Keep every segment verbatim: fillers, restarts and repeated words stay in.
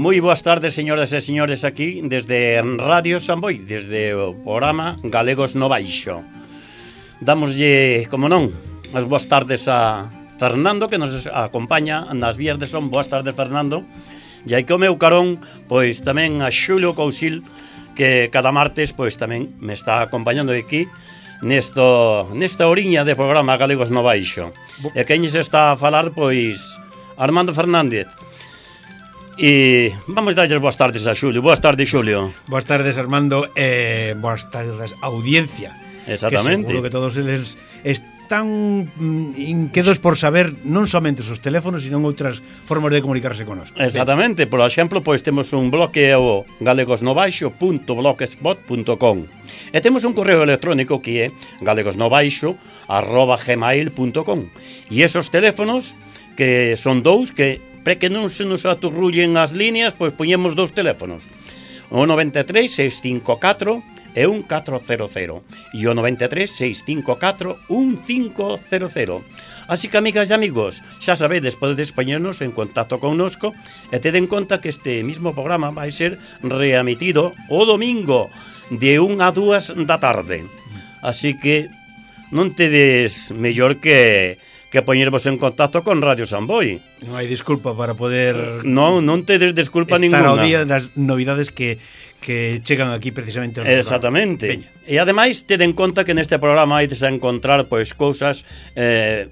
Moi boas tardes, señoras e señores, aquí desde Radio Samboy, desde o programa Galegos no Baixo. Dámoslle, como non, as boas tardes a Fernando, que nos acompaña nas vías de son. Boas tardes, Fernando. E aí que o meu carón, pois tamén a Xulio Cousil, que cada martes pois tamén me está acompañando aquí nesto, nesta oriña de programa Galegos no Baixo. E quen se está a falar, pois Armando Fernández. E vamos darlles boas tardes a Xulio. Boas tardes, Xulio. Boas tardes, Armando, e eh, boas tardes, audiencia. Exactamente. Que seguro que todos eles están mm, inquedos por saber non somente os teléfonos, sino outras formas de comunicarse con nós. Exactamente. Por exemplo, pois temos un blog que é o galegosnobaixo punto blogspot punto com e temos un correo electrónico que é galegosnobaixo arroba gmail punto com, e esos teléfonos que son dous, que para que non se nos aturrullen as líneas, pois poñemos dous teléfonos, o noventa e tres, seiscentos cincuenta e catro e un catro cero cero, e o noventa e tres, seiscentos cincuenta e catro, un cinco cero cero. Así que, amigas e amigos, xa sabedes, podedes poñernos en contacto connosco e tede en conta que este mismo programa vai ser reemitido o domingo de unha a dúas da tarde. Así que non tedes mellor que que poñervos en contacto con Radio Samboy. Non hai disculpa para poder... Non, non tedes disculpa estar ninguna. Estar ao día das novidades que, que chegan aquí precisamente ao noso Exactamente. Programa. E ademais, ted en conta que neste programa haides a encontrar pois cousas eh,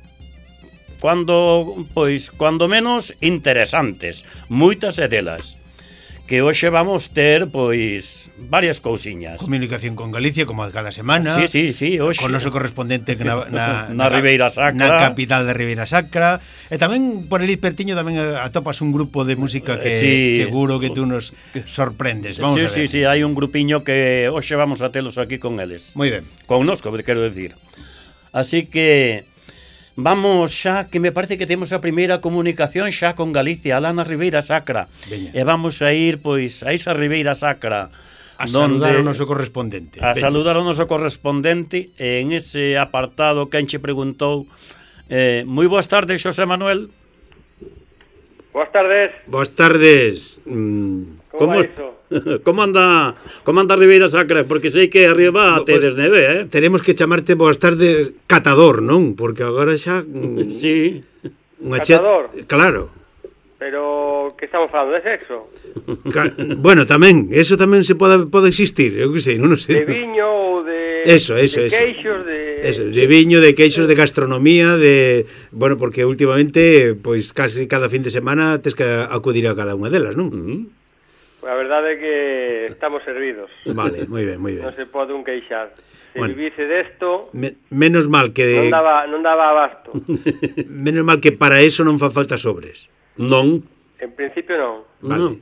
cuando, pois, cuando menos interesantes, moitas e delas, que hoxe vamos ter, pois, varias cousiñas. Comunicación con Galicia, como cada semana. Sí, sí, sí, hoxe. Con noso correspondente na, na, na, na Ribeira Sacra. Na capital da Ribeira Sacra. E tamén, por ali pertiño, tamén atopas un grupo de música que sí. seguro que tú nos sorprendes. Vamos sí, a ver. Sí, sí, hai un grupiño que hoxe vamos a telos aquí con eles. Moi ben. Connosco, quero decir. Así que... vamos xa, que me parece que temos a primeira comunicación xa con Galicia, alá na Ribeira Sacra. Veña. E vamos a ir, pois, a esa Ribeira Sacra a saludar ao noso correspondente. A Veña. saludar ao noso correspondente en ese apartado que enche preguntou. eh, Moi boas tardes, Xosé Manuel. Boas tardes. Boas tardes. mm. Como vai iso? Como anda, como anda a Ribeira Sacra? Porque sei que arriba tedes pues, neve, eh? Tenemos que chamarte boas tardes catador, non? Porque agora xa... Mm, sí. Catador? Che... Claro. Pero que estamos falando de sexo? Ca... Bueno, tamén, eso tamén se pode, pode existir, eu que sei, non sei. De viño ou de... Eso, eso, de eso. queixos, de... Eso, de viño, de queixos, de gastronomía, de... Bueno, porque últimamente, pois, casi cada fin de semana tes que acudir a cada unha delas, non? Mm-hmm. A verdade é que estamos servidos. Vale, moi ben, moi ben. Non se pode un queixar. Se Bueno. vivise desto, Me, menos mal que... non daba, non daba abasto. Menos mal que para eso non fa falta sobres. Non. En principio non. Vale. Non.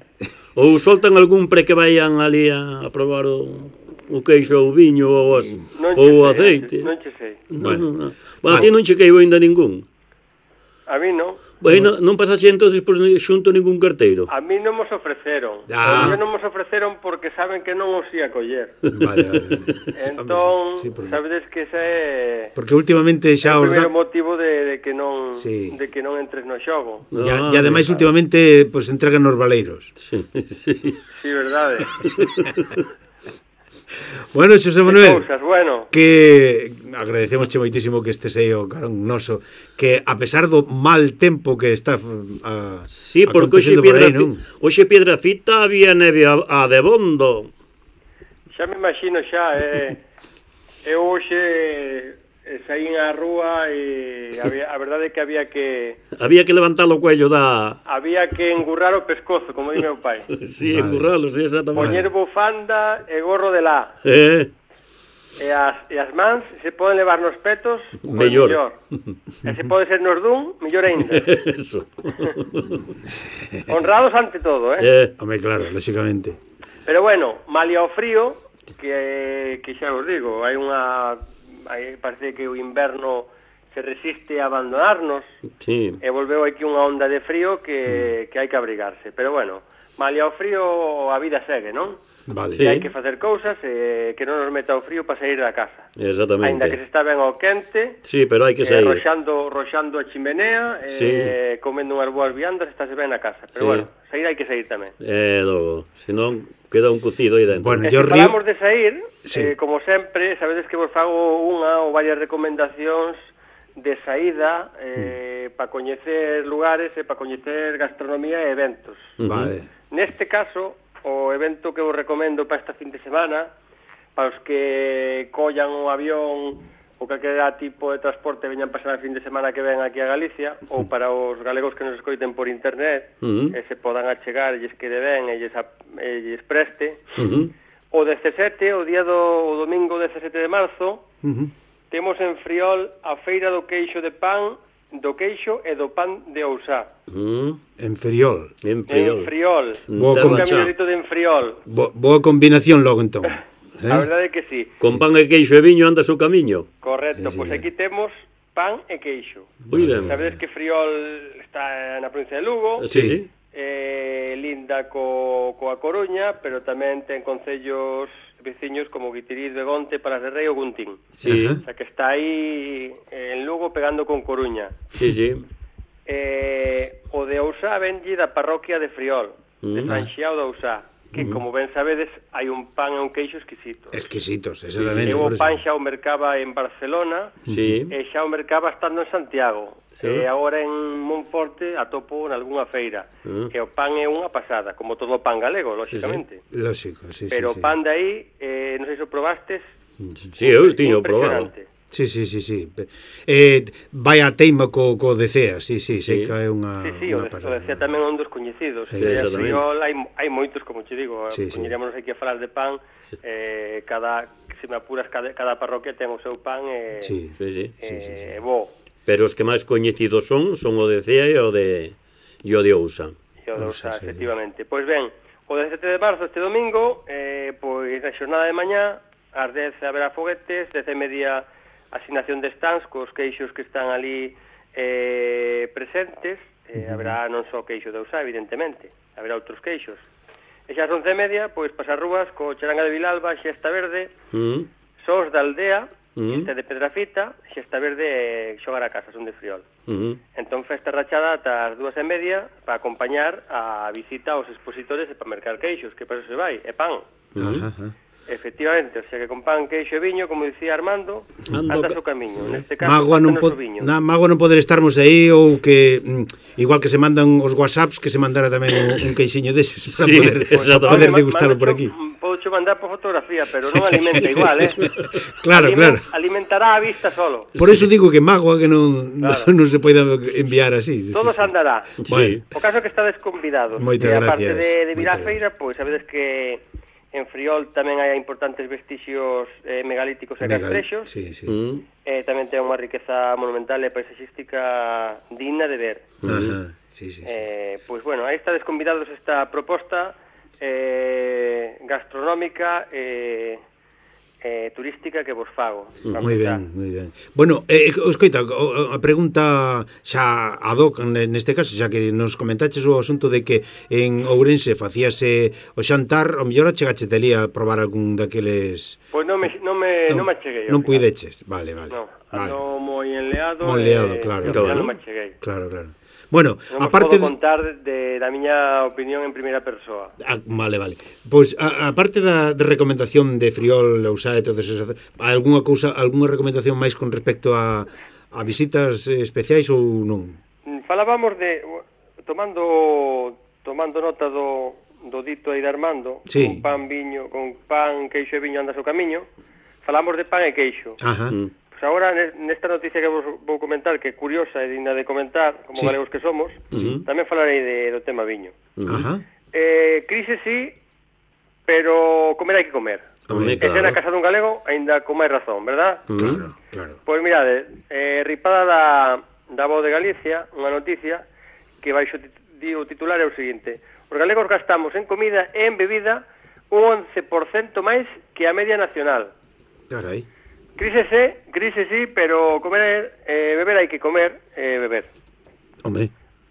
Ou soltan algún pre que vayan ali a, a probar o, o queixo, o viño ou, as, Non ou o che sei, aceite. Non che sei. Non, Bueno. non, non. Bueno, a ti non che queibo ainda ningún. A mí non. Bueno, non pasaxe entonces por xunto ningún carteiro. A mí non mos ofreceron. Ah. Ah. Non mos ofreceron porque saben que non os ia coller. Vale, vale. Entón, Sí, porque... sabedes que ese é... porque últimamente xa o os primeiro da... motivo de, de que non Sí. de que non entres no xogo. E Ah, ademais últimamente pues, entregan nos valeiros. Sí, sí. Sí, verdade. Bueno, Xosé Manuel, Cousas, bueno. que agradecemos moitísimo que estes aí o carón noso, que a pesar do mal tempo que está a, Sí, porque hoxe acontecendo por Piedra, aí, non? hoxe Piedrafita había neve a, a de bondo. Xa me imagino xa, eh, eu hoxe eh, saín á rúa e había, a verdade é que había que Había que levantar o cuello da... había que engurrar o pescozo, como di meu pai. Sí, Vale. engurralo, sí, exactamente. Poñer bufanda e gorro de lá. Eh, E as, e as mans se poden levar nos petos, pois Mellor. mellor. E se pode ser nos dun, mellor ainda. eso. Honrados ante todo, eh? Eh, Home, claro, lógicamente. Pero bueno, malia o frío, que, que xa vos digo, hai unha... Hai, parece que o inverno se resiste a abandonarnos sí. e volveu aquí unha onda de frío que, que hai que abrigarse. Pero bueno, malia o frío a vida segue, non? Vale. Sí. E hai que facer cousas eh, que non nos meta o frío para sair da casa. Exactamente. Ainda que se está ben ao quente, Sí, pero hai que eh, sair. roxando, roxando a chimenea, eh, Sí. comendo unhas boas viandas, estáse ben na casa. Pero Sí. bueno, sair hai que sair tamén. Eh, logo, senón queda un cocido aí dentro. Bueno, E yo se río... falamos de sair, Sí. eh, como sempre, sabedes que vos fago unha ou varias recomendacións de saída eh, mm. para coñecer lugares e para coñecer gastronomía e eventos. Vale. Neste caso, o evento que vos recomendo para esta fin de semana, para os que collan o avión ou calquera tipo de transporte veñan pasar a fin de semana que ven aquí a Galicia, ou para os galegos que nos escoiten por internet, Uh-huh. e se podan achegar, e lles quede ben, e lles, a, e lles preste, Uh-huh. o dezasete, o día do o domingo dezasete de marzo, Uh-huh. temos en Friol a Feira do Queixo de Pan, do Queixo e do Pan de Ousá. Uh-huh. En Friol. En Friol. En Friol. Boa Un con- camiñorito de en Friol. Bo boa combinación logo entón. Eh? A verdade é que sí. Con pan e queixo e viño anda o seu camiño. Correcto, Sí, sí, pois sí. aquí temos pan e queixo. Moi ben. Sabedes que Friol está na provincia de Lugo, Sí, sí. eh, linda co, coa Coruña, pero tamén ten concellos veciños como Guitiriz, Begonte, Palas de Rei ou Guntín. Sí, Ajá. O sea que está aí eh, en Lugo pegando con Coruña. sí, sí. Eh, o de Ousá venlle da parroquia de Friol, de Mm. San Xiao de Ousá, que como ben sabedes hai un pan e un queixo exquisito. Exquisitos, exactamente. Eu por o eso. pan xa o mercaba en Barcelona, Sí. e xa o mercaba estando en Santiago. Sí. E agora en Monforte atopo en algunha feira. Mm. E o pan é unha pasada, como todo o pan galego, lóxicamente. Lógico, sí, Pero sí, sí. o pan de aí, eh, non sei se o probastes, Sí, eu tiño probado. impresionante. Sí, sí, sí, sí. Eh, vai a teima co, co de Cea, sí, sí, sei Sí. que é unha Sí, sí, o unha de, o pasada. decía tamén un dos coñecidos. Sí, E a exactamente. Friol hai, hai moitos, como che digo, Sí, sí. poñeríamos aquí a falar de pan, eh, cada, se me apuras, cada, cada parroquia ten o seu pan e Sí. Sí, sí. eh, sí, sí, sí. bo. Pero os que máis coñecidos son son o de Cea e o de e o de Ousa. E o de Ousa, Ousa, sí. efectivamente. Pois ben, o dezasete de marzo, este domingo, eh, pois na xornada de mañá, ás dez haberá foguetes, dez e media asignación de stands cos queixos que están ali eh, presentes, eh, haberá non só queixo de Ousá, evidentemente, haberá outros queixos. E xa ás once e media, pois pasar rúas co Charanga de Vilalba, Xesta Verde, Mm. Sós da Aldea, Mm. Xesta de Pedrafita, Xesta Verde e Xogar a Casa, son de Friol. Mm. Entón, festa rachada ata as dúas e media para acompañar a visita aos expositores e para mercar queixos, que para eso se vai, e pan. Ajá, ajá. Efectivamente, o sea que con pan, queixo e viño, como dicía Armando, Ando anda ca- o camiño. Neste caso, Magua non, anda po o viño. na, magua non poder estarmos aí ou que mm, igual que se mandan os whatsapps que se mandara tamén un, un queixiño deses para Sí, poder, exactamente. poder Ma- degustarlo por mando aquí. cho- Podo mandar por fotografía, pero non alimenta igual, eh? Claro, Alimen- claro. Alimentará a vista solo. Por eso digo que magua que non, Claro. non, non se pode enviar así. Todo se andará. Sí. O caso é que estades convidados. Moitas E aparte gracias. de, de vir á Moitas feira, pois sabedes que en Friol tamén hai importantes vestixios eh, megalíticos e Legal. castrexos. Sí, sí. Mm. Eh, tamén ten unha riqueza monumental e paisaxística digna de ver. Ajá. Sí, sí, sí. Eh, pois bueno, aí estades convidados a esta proposta eh, gastronómica e eh, turística que vos fago. Vamos Moi a- ben, moi ben. Bueno, eh, escoita, o- a pregunta xa ad hoc neste caso, xa que nos comentaches o asunto de que en Ourense facíase o xantar, o mellor achegache ali a probar algún daqueles... Pois non me, non me, non me acheguei. ao Non final. puideches, vale, vale. No, vale. ando moi enleado. Moi enleado, e, claro. e ao final Claro. non me acheguei. Claro, claro. Bueno, Non vos aparte podo de... contar de, da miña opinión en primeira persoa. Ah, vale, vale. Pois a, a parte da de recomendación de Friol, Ousá e todas esas, algunha cousa, algunha recomendación máis con respecto a, a visitas eh, especiais ou non? Mm, Falábamos de tomando tomando nota do do dito aí de Armando, Sí. con pan, viño, con pan, queixo e viño andas o camiño. Falamos de pan e queixo. Ajá. Mm. Pois agora ne- nesta noticia que vos vou comentar, que é curiosa e digna de comentar, como Sí. galegos que somos, Sí. tamén falarei de, do tema viño. Ajá. Eh, crise sí, pero comer hai que comer. Home, E ser na claro. casa dun galego aínda con máis razón, verdad? Mm. Claro, claro. Pois mirade, eh, ripada da, da Voz de Galicia, unha noticia que baixo tit- di o titular é o seguinte: os galegos gastamos en comida e en bebida un once por cento máis que a media nacional. Carai. Crise sí, crise sí, pero comer, eh, beber hai que comer e eh, beber. Hombre.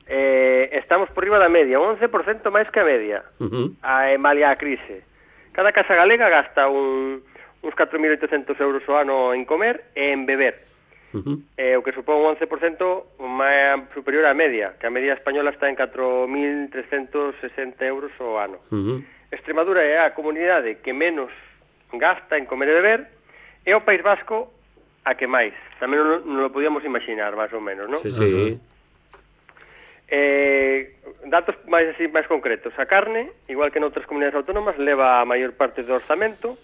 Eh, estamos por riba da media, un once por cento máis que a media, Uh-huh. a malia a crise. Cada casa galega gasta un, uns catro mil oitocentos euros ao ano en comer e en beber, Uh-huh. eh, o que supón un once por cento máis superior á media, que a media española está en catro mil trescentos sesenta euros ao ano. Uh-huh. Extremadura é a comunidade que menos gasta en comer e beber, e o País Vasco a que máis. Tamén non, non lo podíamos imaginar, máis ou menos, non? Sí, sí. Eh, datos máis así máis concretos. A carne, igual que noutras comunidades autónomas, leva a maior parte do orzamento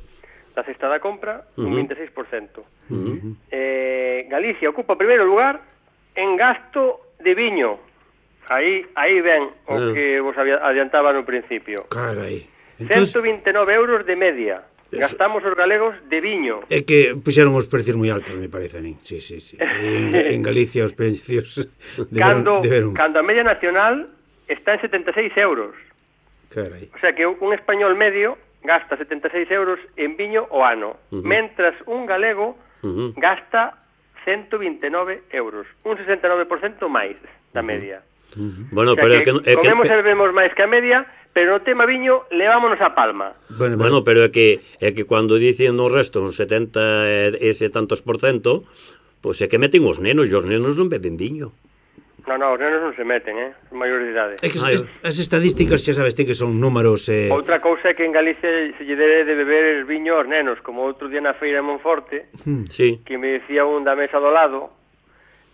da cesta da compra, un Uh-huh. vinte e seis por cento. Uh-huh. Eh, Galicia ocupa o primeiro lugar en gasto de viño. Aí aí ven o Ah. que vos había- adiantaba no principio. Carai. Entonces, ciento vinte e nove euros de media. Gastamos os galegos de viño. é que puxeron os precios moi altos, me parece a min. Sí, sí, sí. En, en Galicia os precios deberon, Cando, deberon... cando a media nacional está en setenta e seis euros. Carai. O sea que un español medio gasta setenta e seis euros en viño o ano, Ujú. mentras un galego Ujú. gasta ciento vinte e nove euros, un sesenta e nove por cento máis da media. Bueno, O sea pero é que, que, é que comemos e bebemos máis que a media, pero no tema viño levámonos a palma. Bueno, Bueno, pero é que é que cando dicen no resto un setenta e ese tantos por cento, pois é que meten os nenos, e os nenos non beben viño. No, no, os nenos non se meten, eh? Son maiores de idade. É que Ai, as, as estadísticas xa sabes ti que son números eh... Outra cousa é que en Galicia se lle debe de beber viño aos nenos, como outro día na feira de Monforte, Sí. que me decía un da mesa do lado,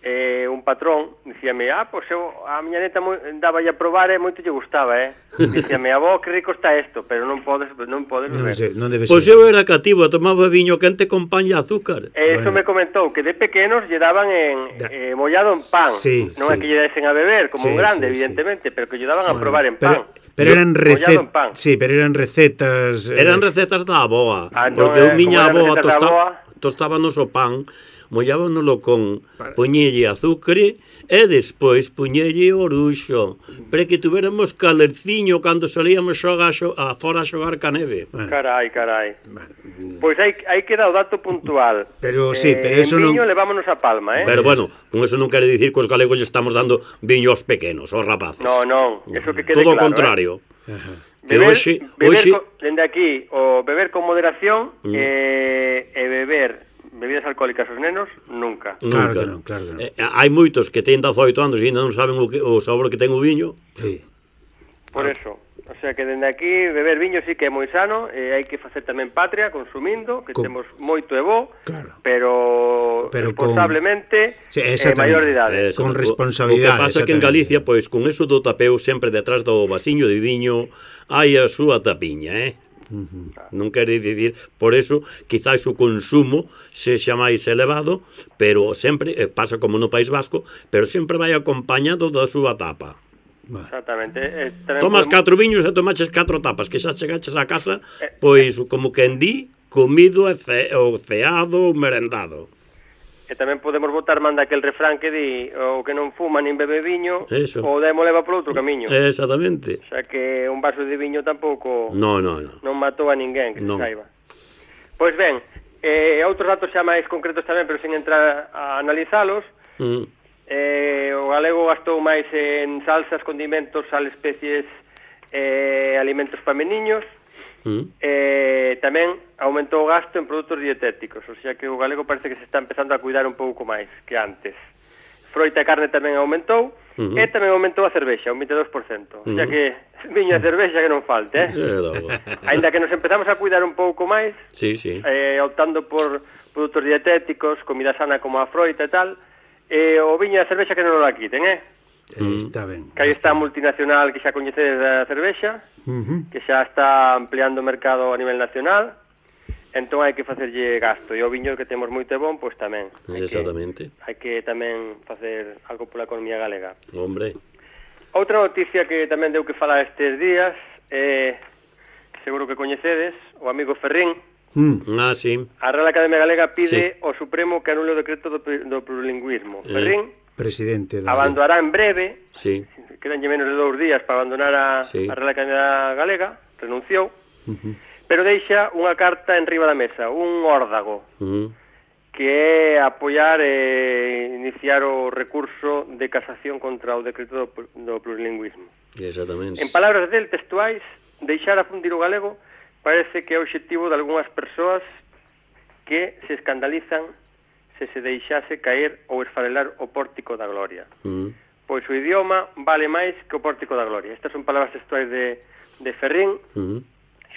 eh, un patrón, dicíame, ah, pois eu, a miña neta moi, daba a probar e moito lle gustaba, eh? Dicíame, avó, que rico está isto, pero non podes, non podes non, beber. sei, non debe Pois ser. eu era cativo, tomaba viño quente con pan e azúcar. E iso Bueno. me comentou que de pequenos lle daban en Da- eh, mollado en pan. Sí, non sí. é que lle desen a beber como Sí, un grande, sí, sí. evidentemente, pero que lle daban a probar en pero, pan. pero Yo- eran mollado recetas, en pan. sí, pero eran recetas eh, Eran recetas da aboa, Ah, non, porque eh, eu miña como eran aboa recetas da tosta, aboa. tostábanos o pan, mollábanoslo con Para- poñelle azúcar e despois poñelle oruxo, para que tuviéramos calerciño cando salíamos xogar xo, a fora a xogar ca neve. Bueno, Carai, carai. bueno, Pois aí, aí queda o dato puntual. Pero sí, pero en eso non- viño levámonos a palma, eh? Pero bueno, con eso non quere dicir que os galegos lle estamos dando viño aos pequenos, aos rapaces. No, non, eso que quede Todo o claro, contrario. ajá. Que Beber, hoxe, beber hoxe co, dende aquí, o beber con moderación Mm. eh, e beber bebidas alcohólicas aos nenos, nunca. Claro nunca. que non, claro que non. Eh, hai moitos que teñen dezaoito anos e ainda non saben o, que, o sabor que ten o viño. Sí. Por eso, o sea que dende aquí beber viño sí que é moi sano, e hai que facer tamén patria consumindo, que Con- temos moito e bo, Claro. pero, Pero con- responsablemente Sí, eh, exactamente. maior de idade. Eso, Con o- responsabilidade, O que pasa é que en exactamente. Galicia, pois, con eso do tapeo sempre detrás do vasiño de viño hai a súa tapiña, eh? Non quere dicir, por eso, quizás o consumo sexa máis elevado, pero sempre, eh, pasa como no País Vasco, pero sempre vai acompañado da súa tapa. Bueno. Exactamente. Eh, tamén Tomas podemos- catro viños e tomaches catro tapas, que xa chegaches a casa, pois, como quen di, comido e ce, o ceado ou merendado. E tamén podemos botar manda aquel refrán que di o que non fuma nin bebe viño, Eso. o demo leva por outro camiño. Exactamente. O sea que un vaso de viño tampouco No, no, no. non matou a ninguén, que Non. se saiba. Pois ben, eh, outros datos xa máis concretos tamén, pero sin entrar a analizalos, Mm. eh, o galego gastou máis en salsas, condimentos, sal, especies, eh, alimentos para meniños, Mm. eh, tamén aumentou o gasto en produtos dietéticos, o sea que o galego parece que se está empezando a cuidar un pouco máis que antes. Froita e carne tamén aumentou, Uh-huh. e tamén aumentou a cervexa, un veintidós por cento. O sea Uh-huh. que viño e cervexa que non falte, eh? É logo. Ainda que nos empezamos a cuidar un pouco máis, Sí, sí. eh, optando por produtos dietéticos, comida sana como a froita e tal, eh, o viño e a cervexa que non o la quiten, eh? Eh, está ben. Que aí está a multinacional que xa coñecedes da cervexa, Uh-huh. que xa está ampliando o mercado a nivel nacional, entón hai que facerlle gasto, e o viño que temos moito bon, pois tamén. Hai Exactamente. Que, hai que tamén facer algo pola economía galega. Hombre. Outra noticia que tamén deu que falar estes días, eh, seguro que coñecedes, o amigo Ferrín, Mm. Ah, sí. a Real Academia Galega pide Sí. ao Supremo que anule o decreto do, pl- do plurilingüismo. Eh. Ferrín Presidente da... abandonará en breve, Sí. quedanlle menos de dous días para abandonar a, Sí. a Real Academia Galega, renunciou, Uh-huh. pero deixa unha carta en riba da mesa, un órdago. Mm. que é apoiar e iniciar o recurso de casación contra o decreto do, do plurilingüismo. Exactamente. En palabras del textuais, deixar a fundir o galego parece que é o obxectivo de algunhas persoas que se escandalizan se se deixase caer ou esfarelar o pórtico da gloria. Mm. Pois o idioma vale máis que o pórtico da gloria. Estas son palabras textuais de, de Ferrín, Mm.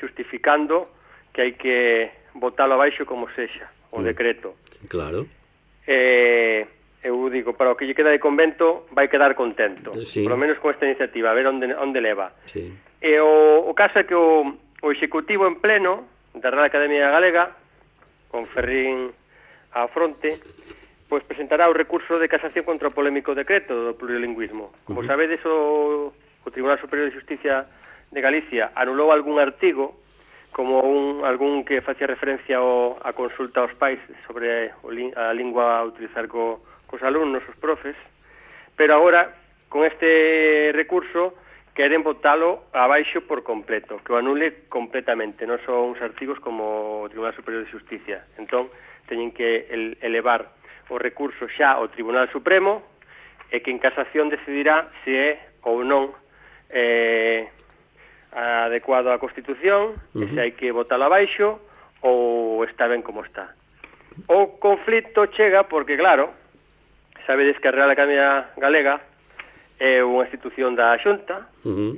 xustificando que hai que botalo abaixo como sexa, o Mm. decreto. Claro. Eh, eu digo, para o que lle queda de convento vai quedar contento, Sí. por lo menos con esta iniciativa, a ver onde, onde leva. Sí. E o, o caso é que o, o Executivo en pleno da Real Academia Galega, con Ferrín á fronte, pois presentará o recurso de casación contra o polémico decreto do plurilingüismo. Como Uh-huh. sabedes, o, o Tribunal Superior de Justicia de Galicia anulou algún artigo, como un, algún que facía referencia ao, a consulta aos pais sobre o, a lingua a utilizar co, cos alumnos, os profes, pero agora, con este recurso, queren botalo abaixo por completo, que o anule completamente, non son uns artigos como o Tribunal Superior de Justicia. Entón, teñen que el, elevar o recurso xa ao Tribunal Supremo e que en casación decidirá se é ou non eh, adecuado á Constitución, uh-huh. e se hai que botalo abaixo ou está ben como está. O conflito chega porque, claro, sabedes que a Real Academia Galega é unha institución da Xunta, Uh-huh.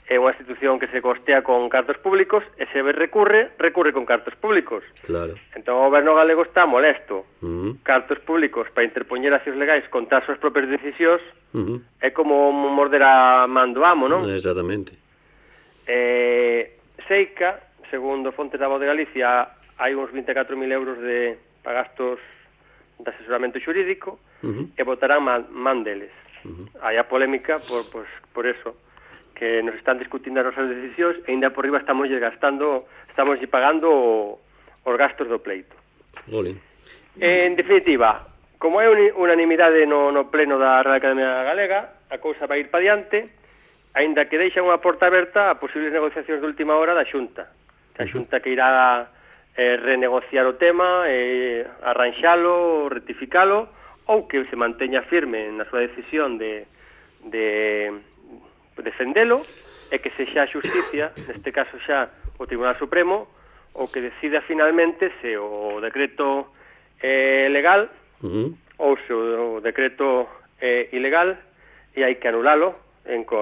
é unha institución que se costea con cartos públicos e se recurre, recurre con cartos públicos. Claro. Entón o goberno galego está molesto. Uh-huh. Cartos públicos para interpoñer accións legais contra as súas propias decisións Uh-huh. é como morder a man do amo, non? Exactamente. Eh, Seica, segundo fontes da Voz de Galicia, hai uns vinte e catro mil euros de para gastos de asesoramento xurídico Uh-huh. e votarán man, man deles. Uh-huh. Hai a polémica por, pues, por eso, que nos están discutindo as nosas decisións e ainda por riba estamos gastando, estamos pagando o, os gastos do pleito. Jolín. En definitiva, como é unanimidade no, no pleno da Real Academia Galega, a cousa vai ir pa diante, aínda que deixa unha porta aberta a posibles negociacións de última hora da Xunta. Que a Xunta que irá eh, renegociar o tema, eh, arranxalo, rectificalo, ou que se manteña firme na súa decisión de, de defendelo, e que sexa a xusticia, neste caso xa o Tribunal Supremo, o que decida finalmente se o decreto é legal Uh-huh. ou se o decreto é ilegal e hai que anulalo en co,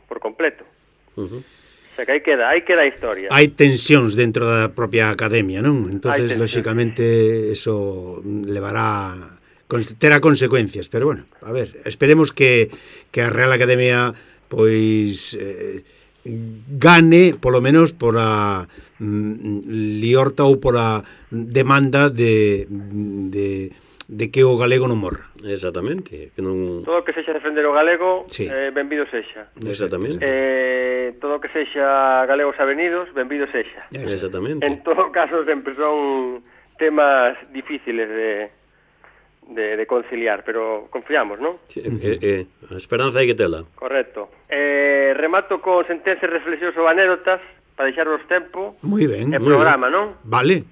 por completo. Uh-huh. O sea que aí queda, aí queda a historia. Hai tensións dentro da propia academia, non? Entonces, tensións. lóxicamente, eso levará terá consecuencias, pero bueno, a ver, esperemos que, que a Real Academia pois eh, gane, polo menos pola mm, liorta ou pola demanda de, de, de que o galego non morra. Exactamente, que non... Todo o que sexa defender o galego, Sí. eh, benvido sexa. Exactamente. Eh, todo o que sexa galegos avenidos, benvido sexa. Exactamente. En todo caso, sempre son temas difíciles de, de, de conciliar, pero confiamos, non? Sí, eh, eh, a esperanza hai que tela. Correcto. Eh, remato con sentencias, reflexións ou anécdotas para deixarvos tempo Moi ben. e programa, non? Vale.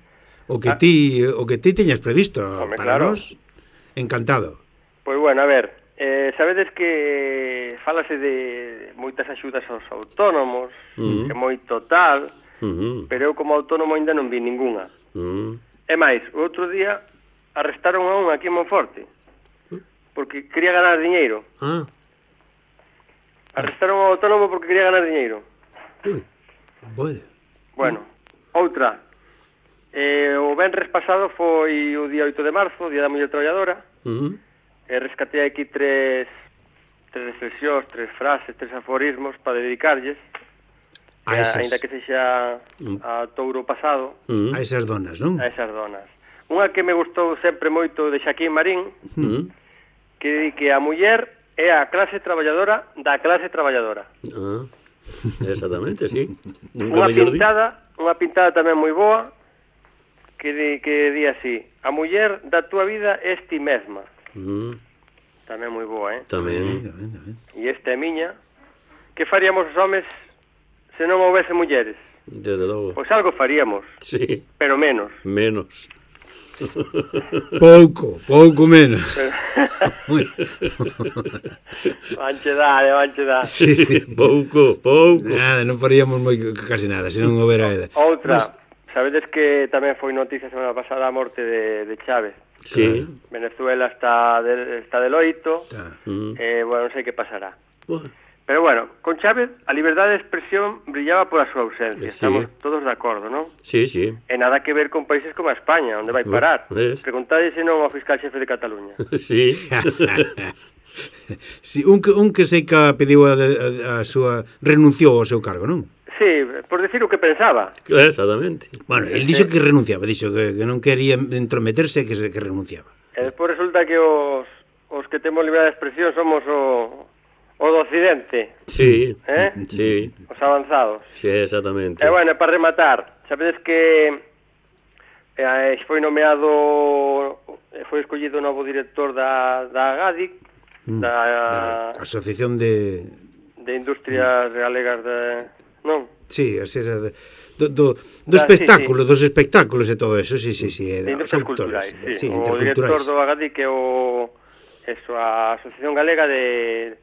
O que Ah. ti o que ti teñas previsto Home, para claro. nós, encantado. Pois bueno, a ver, eh, sabedes que falase de moitas axudas aos autónomos, Mm. que moito tal, Uh-huh. pero eu como autónomo ainda non vi ningunha. Uh-huh. É máis, o outro día arrestaron a un aquí en Monforte, porque quería ganar diñeiro. Ah, Arrestaron ao autónomo porque quería ganar diñeiro. ui. Bueno. Bueno, outra. Eh, o venres pasado foi o día oito de marzo, o día da Muller Traballadora, Uh-huh. e rescatei aquí tres tres reflexións, tres frases, tres aforismos para dedicarlles, A que, esas, ainda que sexa a touro pasado, Uh-huh. a esas donas, non? a esas donas. Unha que me gustou sempre moito de Xaquín Marín, Uh-huh. que di que a muller é a clase traballadora da clase traballadora. Ah, exactamente, sí. Nunca Unha mellor dito. pintada, unha pintada tamén moi boa, que di, que di así: a muller da túa vida é ti mesma. Uh-huh. Tamén moi boa, eh? Tamén. Venga, venga, venga. E esta é miña. Que faríamos os homes se non houvese mulleres? Desde logo. Pois algo faríamos, Sí, pero menos. menos. Pouco, pouco menos. Muy... Vanche dar, vanche dar. Sí, sí. Pouco, pouco. Nada, non faríamos moi casi nada, se non houbera ela. Outra, sabedes que tamén foi noticia semana pasada a morte de, de Chávez. Sí. Venezuela está de, está de loito. Tá. Mm. Eh, bueno, non sei que pasará. Bueno, Pero bueno, con Chávez a liberdade de expresión brillaba pola súa ausencia. Sí. Estamos todos de acordo, non? sí, sí. E nada que ver con países como a España, onde vai parar. Ves? Preguntade se non ao fiscal xefe de Cataluña. Sí. Sí, un que, un que sei que pediu a, a, a súa renunciou ao seu cargo, non? Sí, por decir o que pensaba. Exactamente. Bueno, el dixo que renunciaba, dixo que, que non quería entrometerse, que, se, que renunciaba. E despois resulta que os, os que temos liberdade de expresión somos o, o do occidente, Sí. eh? Sí. Os avanzados. Sí, exactamente. E bueno, para rematar, sabedes que eh, foi nomeado, foi escollido o novo director da, da GADIC, Mm, da, da Asociación de... de Industrias Galegas de... Non? Sí, a ser de, do, do, do Da, espectáculo, sí, sí. dos espectáculos e todo eso, sí, sí, sí. De Industrias Culturais, sí. sí, O director interculturais. do GADIC é o... Eso, a Asociación Galega de...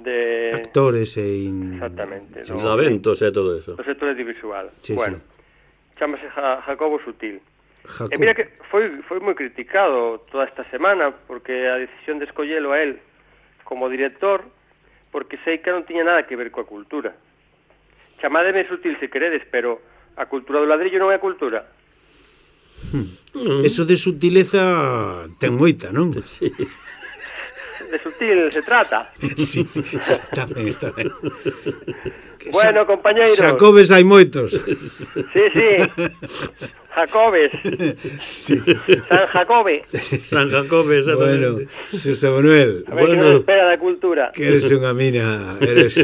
de Actores e... In... Exactamente. Os eventos e todo eso. Do sector audiovisual. Sí, bueno, chámase Ja- Jacobo Sutil. Jacob. E mira que foi foi moi criticado toda esta semana porque a decisión de escollelo a él como director, porque sei que non tiña nada que ver coa cultura. Chamádeme Sutil se queredes, pero a cultura do ladrillo non é cultura. Hmm. Eso de sutileza ten moita, non? Sí. De sutil se trata. Sí, sí, está ben, está ben. Que Bueno, xa- compañeiros. Xacobes hai moitos. Sí, sí. Jacobes. Sí. San Jacobe. San Jacobe, Bueno, exactamente. Susa Manuel, A ver Bueno. que nos espera da cultura. que eres unha mina, eres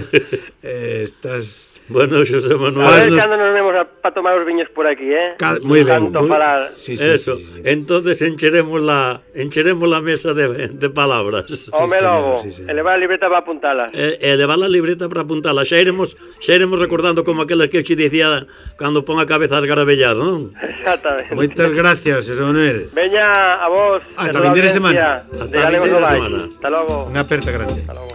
eh, estás Bueno, Xosé A Manuel. ver nos- cando nos vemos para tomar os viños por aquí, eh? Ca- moi ben. Tanto Moi- falar. Sí, sí, Eso, sí, sí, sí. entonces encheremos la encheremos la mesa de, de palabras. Home señor, logo, sí, señor. elevar a libreta para apuntalas. E, e levar a libreta para apuntala. Xa iremos, xa iremos recordando como aqueles que che dicía cando pon a cabeza as garabellas, non? Exactamente. Moitas gracias, Susa Manuel. Veña a vos. Ata de toda vindeira audiencia semana. De Ata Galegos vindeira Novais. semana. Hasta logo. Unha aperta grande. Hasta logo.